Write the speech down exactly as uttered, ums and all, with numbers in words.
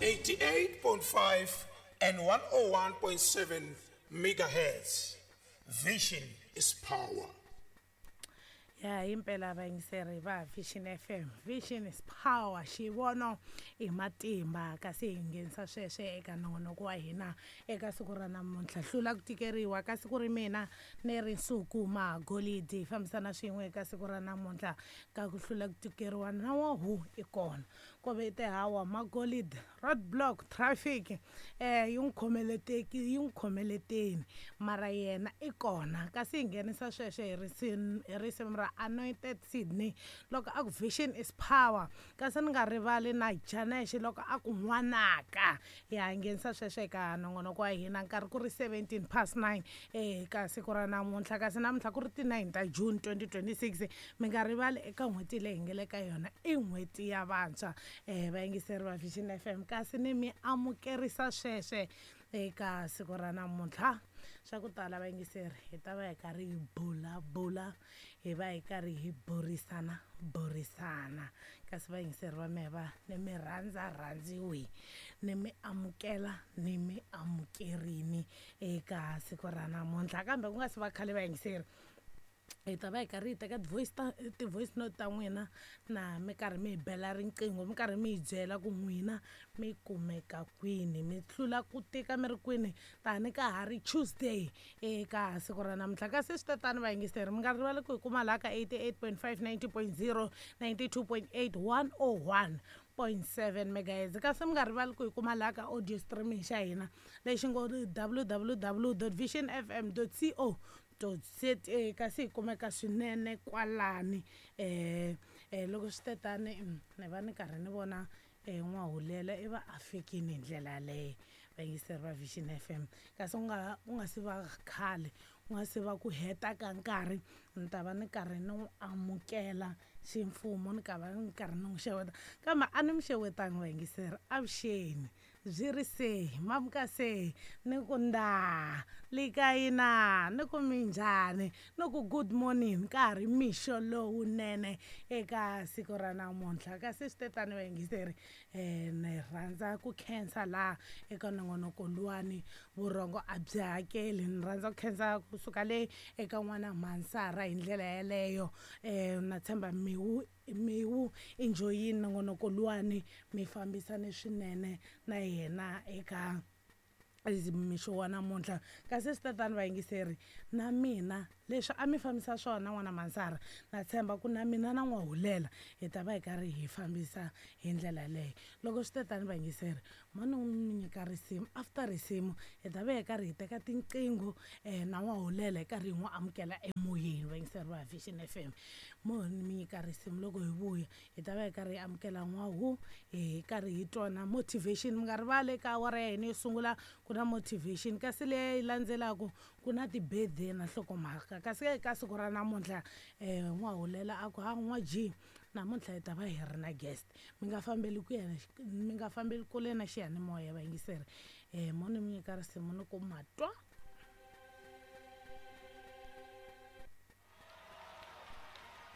eighty-eight point five and one oh one point seven megahertz. Vision is power. Ya impela vayingiseri va Vision F M. Vision is power. Xivono i matimba kasi hi nghenisa sweswe eka nongonoko wa hina eka siku ra namuntlha. Hlula ku tikeriwa ka siku ri mina ni ri Nsuku Magolidi hi fambisana swin'we eka siku ra namuntlha ka ku hlula ku tikeriwa na wa hu i kona. Ko ve te hawa Magolidi roadblock traffic eh yi n'wi khomeleteki yi n'wi khomeleteni mara yena i kona kasi hi nghenisa sweswe hi risimu hi risimu ra Anointed Sydney loko a ku vision is power kasi ni nga rivali na Janesh loko a ku n'wanaka. Ya nghenisa sweswo eka nongonoko wa hina nkarhi ku ri seventeen past nine eka siku ra namuntlha kasi namuntlha ku ri ti nine ta June twenty twenty-six. Mi nga rivali eka n'hweti leyi hi nga le ka yona i n'hweti ya vantshwa eh vayingiseri va Vision F M kasi ni mi amukerisa sweswe eka siku ra namuntlha. Swa ku tala vayingiseri hi ta va hi karhi hi bulabula hi va hi karhi hi burisana burisana kasi vayingiseri va mehe va ni mi rhandza rhandziwi ni mi amukela ni mi amukerini eka siku ra namuntlha. Kambe ku nga si va khale vayingiseri hi ta va hi karhi hi teka ti-voice ta ti-voice note ta n'wina na mi karhi mi hi bela riqingho mi karhi mi hi byela ku n'wina mi kumeka kwini mi hlula ku tika mi ri kwini tani ka ha ri Tuesday eka siku ra namuntlha. Kasi swi tatani vayingiseri mi nga rivali ku hi kuma laha ka eighty-eight point five, ninety point zero, ninety-two point eight, one oh one point seven megahertz. Kasi mi nga rivali ku hi kuma laha ka audio streaming xa hina lexi ngo w w w dot vision f m dot co dot z a kasi hi kumeka swinene kwalani eh eh loko swi tetani ni va ni karhi ni vona eh N'wahulela i va a fikini hi ndlela yaleyo vayingiseri va Vision F M. Kasi u nga u nga si va khale u nga si va ku heta ka nkarhi ni ta va ni karhi ni n'wi amukela ximfumo ni ka va ni karhi ni n'wi xeweta kambe a ni mi xewetangi vayingiseri avuxeni byi ri se mamuka se ni ku nda likayina ni ku minjhani ni ku good morning ka ha ri mixo lowunene eka siku ra namuntlha. Kasi swi tetani vayingiseri eh ni rhandza ku khensa laha eka nongonoko luwani vurhongo a byi hakeli. Ni rhandza ku khensa kusuka le eka n'wana Mansara hi ndlela yeleyo eh na tshemba miwu miwu enjoyini nongonoko luwani mi fambisane swinene na yena eka mixo wa namuntlha. Kasi swi tatani vayingiseri na mina leswi a mi fambisa swona n'wana Mansara na tshemba ku na mina na N'wahulela hi ta va hi karhi hi fambisa hi ndlela yaleyo. Loko swi tatani vayingiseri mo ni mi nyika risimu after risimu hi ta va hi karhi hi teka tinqingho eh na N'wahulela hi karhi hi n'wi amukela emoyeni vayingiseri va Vision F M. Mo ni mi nyika risimu loko hi vuya hi ta va hi karhi hi amukela N'wahu hi karhi hi twana motivation. Mi nga rivali eka awara ya hina yo sungula ku na motivation kasi leyi landzelaka ku na ti-birthday na nhlokomhaka. Kasi eka siku ra namuntlha eh N'wahulela a ku ha n'wa G namuntlha hi ta va hi ri na guest mi nga fambeli ku ya mi nga fambeli kule na xiyanimoya vayingiseri eh mo ni mi nyika risimu ni ku matwa.